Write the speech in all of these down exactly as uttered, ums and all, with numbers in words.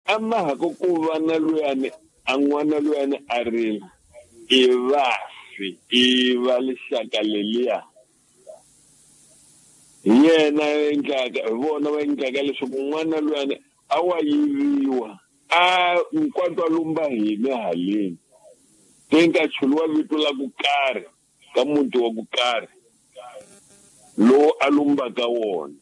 A ma ha ku ku va na luyani a n'wana luyani a rila i vafi i va lixaka leliya hi yena endlaka hi vona va endlaka leswaku n'wana luyani a wa yiviwa a nkwatwa lumba hina haleni te nga chuliwa vito la ku karhi ka muti wa ku karhi lowu a lumbaka wona.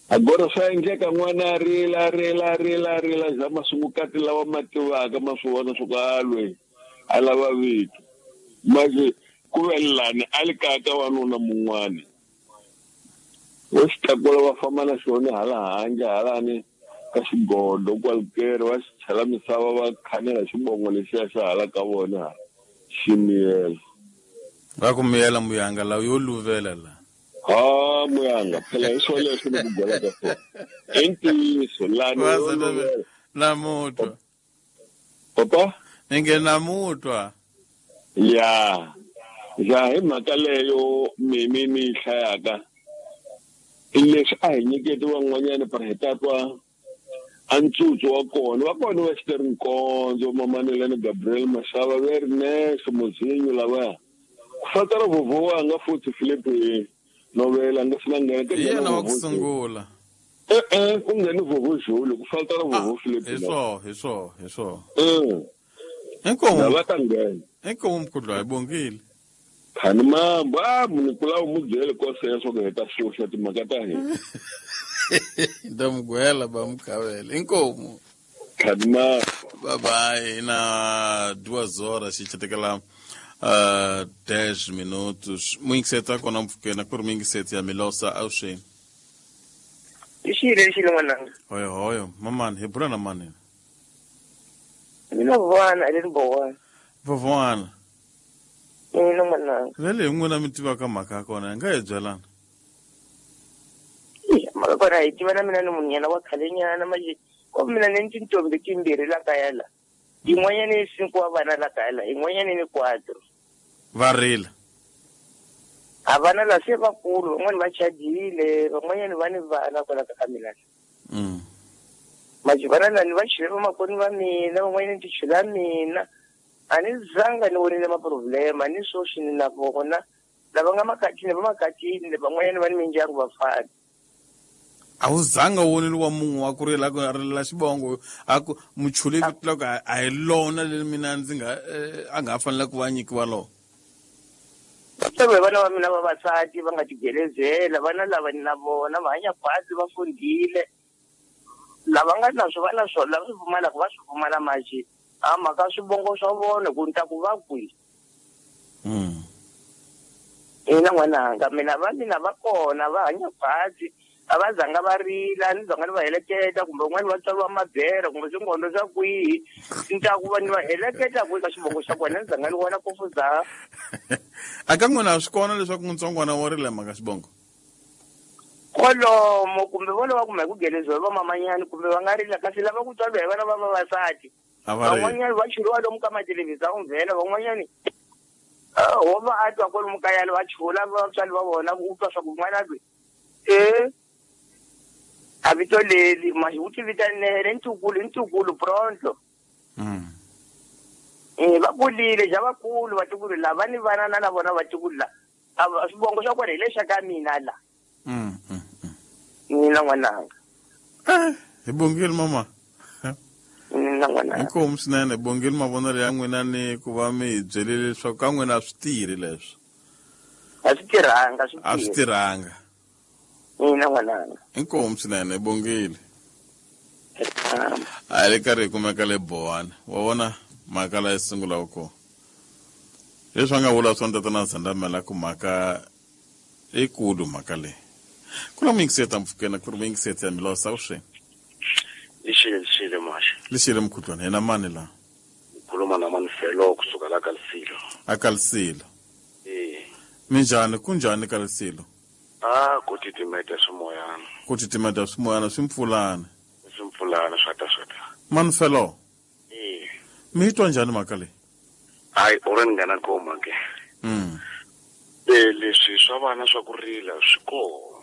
Agora swa endleka n'wana a rila rila rila rila za masungukati lawa ma tivaka ma swi vona swa ku a lweyi a lava vito manje ku ve lani a li kaya ka wanuna mun'wani wo xi tlakula va famba na xona hala handle halani ka xigodo kwalikeri va xi chela misava va khanela xibongo lexiya xa hala ka vona xi miyela. Va ku miyela muyanga lawa yo luvela la. Ha muyanga phela hi swo leswi ni ku byelaka swona i ntiyiso lani yo luvela. Namutwa papa ni nge namutwa ya ya hi mhaka leyo mimi ni yi hlayaka i leswi a hi nyiketi van'wanyana para hi ta twa a ntsutsu wa kona va kona va xiteri Nkondzo Mamanelani Gabriel Mashava ve ri Nexe Mozinyo lavaya ku fatela vhovho wanga futhi Philip Novela nga sina nghena hi yena wa ku sungula e-e ku ngheni vhovho Julu ku fatela vhovho Philip hi swo hi swo hi swo mm inkomu va ta nghena inkomu mkhudlwa hi bongile khani mambo a munhu kula u mu byele koseya swa ku heta xuxa timhaka ta hina ndamugwela ba mukhavela inkomu khani mambo bye bye na duas horas xi uh, dez minutos muyingiseta kona mpfukeni ku ri muyingiseti ya Milosa avuxeni. Lixile lixile n'wananga. Hoyo hoyo mamani hi bula na mani mina vona a le ni bowana vovwana mina n'wananga vele hi n'wina mi tivaka mhaka ya kona hi nga hi byelana mhaka kona hi tiva na mina ni munhu wa khalenyana manje ko mina ni tintombi timbirhi la kaya la yin'wanyana i cinco wa vana la kaya la yin'wanyana ni quatro va rila a vana la se vakulu van'wani va chadile van'wanyana va ni vana kwala ka mina mm. manje vana lani va chule vamakoni va mina van'wanyana ti chula mina a ni zanga ni vonile maproblema ni swoswi ni na vona lava nga makatini va makatini van'wanyana va ni mindyangu va fana. A wu zanga u vonile wa munhu wa ku rila ku rilela xibongo a ku muchule vito la ku a hi lona leri mina ndzi nga a nga ha fanela ku va nyikiwa lona. Vatswari vana va mina vavasati va nga tigelezela vana lava ni na vona va hanya khwatsi va fundile lava nga na swo va na swona lava swi pfumalaka va swi pfumala manje a mhaka swivongo swa vona ku ni ta ku va kwihi. Mm. Ina n'wananga mina va mina va kona va hanya khwatsi a va zanga va rila ni zanga ni va heleketa kumbe un'wana va tswariwa mabere kumbe swingondo swa kwihi ni ta ku va ni va heleketa kwihi ka xivongo xa kona ni zanga ni vona ku fuza. A ka n'wina swi kona leswaku ntsongwana wa rila mhaka xibongo kwalomo kumbe vona va kuma hi ku geleziwa hi vamamanyani kumbe va nga rila kasi lava ku tswariwa hi vana va vavasati van'wanyani va churiwa lomu ka mathelevhizani vhela van'wanyani ho va a twa kwalomu kayani va chula vatswari va vona ku twa swa ku n'wana loyi e a vito leli manje u ti vitanele ntukulu ntukulu pronto. Mm. Eh va kulile ja vakulu vatukulu lava ni vana na na vona vatukulu la a swivongo swa kona hi lexa ka mina la. Mm. Mm. Mina n'wananga. Eh, hi bongile mama. Mina n'wananga. Inkomu swinene bongile mavonelo ya n'wina ni ku va mi hi byelile leswaku ka n'wina a swi tirhi leswi. A swi tirhanga swi A swi tirhanga. Mina n'wananga. Inkomu swinene bongile. A le karhi hi kumeka le Bowana. Wa vona mhaka la yi sungulaka kona. Leswi a nga vula swona tatana Zandamela ku mhaka ikulu mhaka leyi. Ku na muyingiseti mpfukeni ku ri muyingiseti ya Milosa avuxeni. Lixile lixile maxa. Lixile mkhudlwana hina mani la? Ngikhuluma na Manfelo kusuka la Kalisilo. A Kalisilo. Eh. Minjhani kunjhani Kalisilo? Ah, ku titimeta swimoyana. Ku titimeta swimoyana swi mpfulana. Swi mpfulana swa ta swa ta. Manfelo. Eh. Mi twa njhani mhaka leyi? Hayi, u ri nghena koma ke. Mm. Eh leswi swa vana swa ku rila swi kona.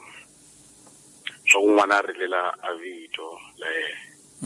Swa ku n'wana a rilela a vito la yena.